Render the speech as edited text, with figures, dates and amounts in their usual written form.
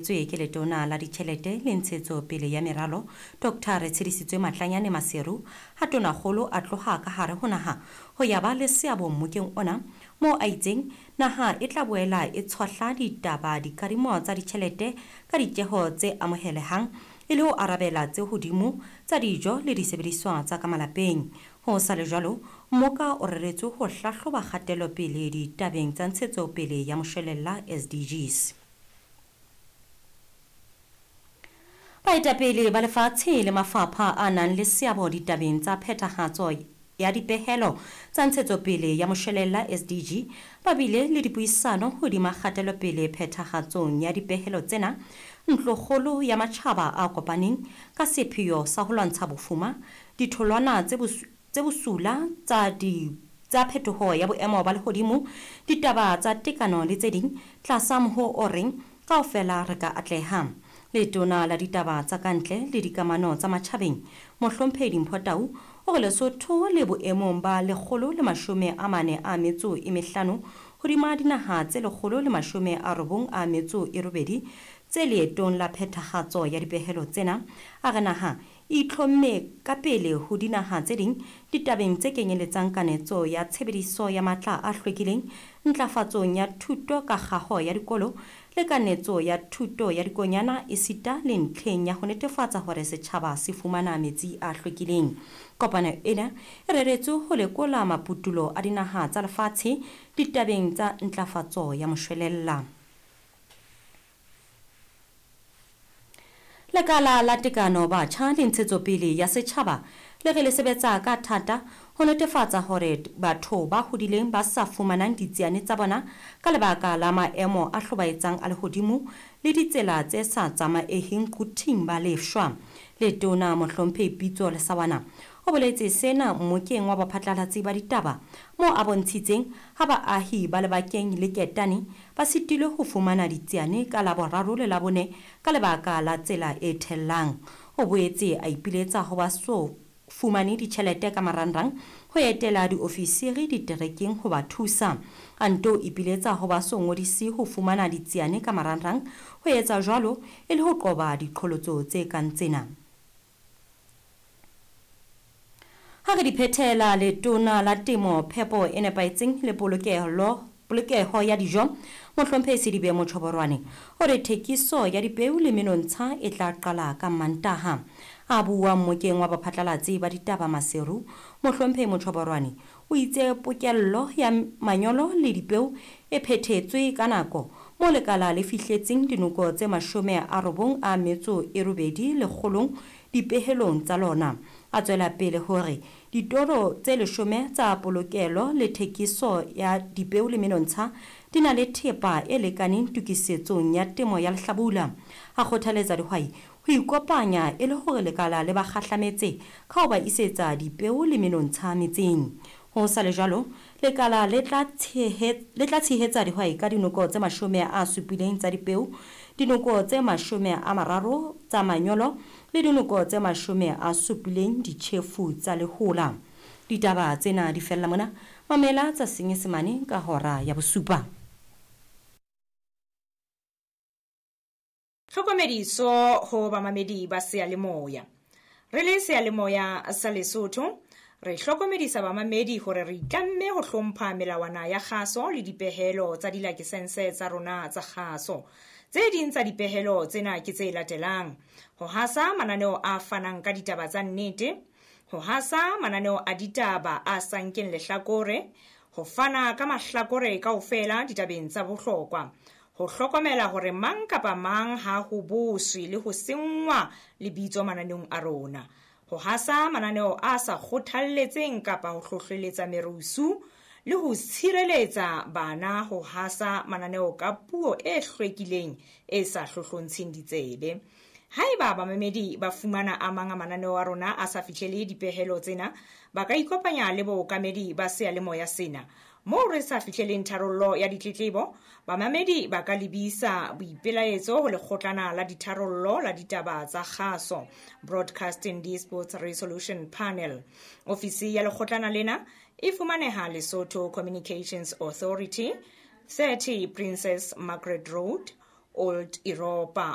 Tswe ke Letona la Ditjhelete le Ntshetsopele ya Meralo, Dr. Retshedisitswe Matlanyane Maseru, ha Tonakgolo a tloha ka hare ho naha ho ya ba le seabo mmokeng ona, moo a itseng naha e tla boela e tshohla ditaba dikadimo tsa ditjhelete ka ditjeho tse amohelehang e le ho arabela tse hodimo tsa dijo le disebediswa tsa ka malapeng. Ho sa le jwalo, mmoka o reretswe ho hlahloba kgatelopele ditabeng tsa ntshetsopele ya moshwelella SDGs. Baetapele ba lefatshe le mafapha a nang le seabo ditabeng tsa phethahatso ya dipehelo tsa ntshetsopele ya moshwelella SDG ba bile le dipuisano hodima kgatelopele phethahatsong ya dipehelo tsena Ntlokgolo ya Matjhaba a Kopaneng ka sepheo sa ho lwantsha bofuma, ditholwana tse bosula tsa di tsa phetoho ya boemo ba lehodimo, ditaba tsa tekano le tse ding tlasa mohoo o reng Kaofela re ka atleha. Letona la Ditaba tsa Kantle le Dikamano tsa Matjhabeng, Mohlomphehi Dimpho Tau, o re Lesotho le boemong ba 145 hodima dinaha tse 198 tse leetong la phethahatso ya dipehelo tsena. A re naha e itlhomme ka pele ho dinaha tse ding ditabeng tse kenyeletsang kanetso ya tshebediso ya matla a hlwekileng, ntlafatsong ya thuto ka kgaho ya dikolo le kanetso ya thuto ya dikonyana esita le ntlheng ya ho netefatsa hore setjhaba se fumana metsi a hlwekileng. Kopano ena e reretswe ho lekola maputulo a dinaha tsa lefatshe ditabeng tsa ntlafatso ya moshwelella. Lekala la Tekano Batjha le Ntshetsopele ya Setjhaba le re le sebetsa ka thata ho netefatsa hore batho ba hodileng ba sa fumanang ditsiane tsa bona ka lebaka la maemo a hlobaetsang a lehodimo le ditsela tse sa tsamaeheng quthing ba lefshwa. Letona Mohlomphehi Pitso Lesawana o boletse sena mmokeng wa baphatlalatsi ba ditaba moo a bontshitseng ha baahi ba lebakeng le Ketane ba sitilwe ho fumana ditsiane ka Laboraro le Labone ka lebaka la tsela e thellang. O boetse a ipiletsa ho ba so fumane ditjhelete ka marangrang ho etela diofisiri diterekeng ho ba thusa. A nto ipiletsa ho ba so ngodise ho fumana ditsiane ka marangrang ho etsa jwalo e le ho qoba diqholotso tse kang tsena. Ha re di phethela, Letona la Temo, Phepo e Nepahetseng le Polokelo Polokeho ya Dijo, Mohlomphehi Sedibe Mochoborwane, o re thekiso ya dipeu le menontsha e tla qala ka Mantaha. A bua mmokeng wa baphatlalatsi ba ditaba Maseru, Mohlomphehi Mochoborwane o itse pokello ya manyolo le dipeu e phethetswe ka nako moo lekala le fihletseng dinoko tse 98 lekgolong dipehelong tsa lona. A tswela pele hore ditoro tse leshome tsa polokelo le thekiso ya dipeo le menontsha di na le thepa e lekaneng tokisetsong ya temo ya lehlabula. A kgothaletsa dihwai ho ikopanya e le hore lekala le ba kgahlametse ka ho ba isetsa dipeo le menontsha metseng. Ho sa le jwalo, lekala le tla le tla tshehetsa dihwai ka dinoko tse 70 tsa dipeo, dinoko tse 30 tsa manyolo le dinoko tse 70 ditjhefu tsa lehola. Ditaba tsena di fella mona. Mamela tsa Senyesemane ka hora ya bosupa. Tlhokomediso ho bamamedi ba seyalemoya. Re le seyalemoya sa Lesotho, re hlokomedisa bamamedi hore re itlamme ho hlompha melawana ya kgaso le dipehelo tsa dilakesense tsa rona tsa kgaso. Tse ding tsa dipehelo tsena ke tse latelang: ho hasa mananeo a fanang ka ditaba tsa nnete, ho hasa mananeo a ditaba a sa nkeng lehlakore, ho fana ka mahlakore kaofela ditabeng tsa bohlokwa, ho hlokomela hore mang kapa mang ha ho boswe le ho senngwa lebitso mananeong a rona, ho hasa mananeo a sa kgothalletseng kapa ho hlohleletsa merusu, le ho tshireletsa bana ho hasa mananeo ka puo e hlwekileng e sa hlohlontsheng ditsebe. Haeba bamamedi ba fumana a mang a mananeo a rona a sa fihlele dipehelo tsena, ba ka ikopanya le bookamedi ba seyalemoya sena. Moo re sa fihleleng tharollo ya ditletlebo, bamamedi ba ka lebisa boipelaetso ho lekgotlana la ditharollo la ditaba tsa kgaso, Broadcasting Disputes Resolution Panel. Ofisi ya lekgotlana lena e fumaneha Lesotho Communications Authority, 30 Princess Margaret Road, Old Europa.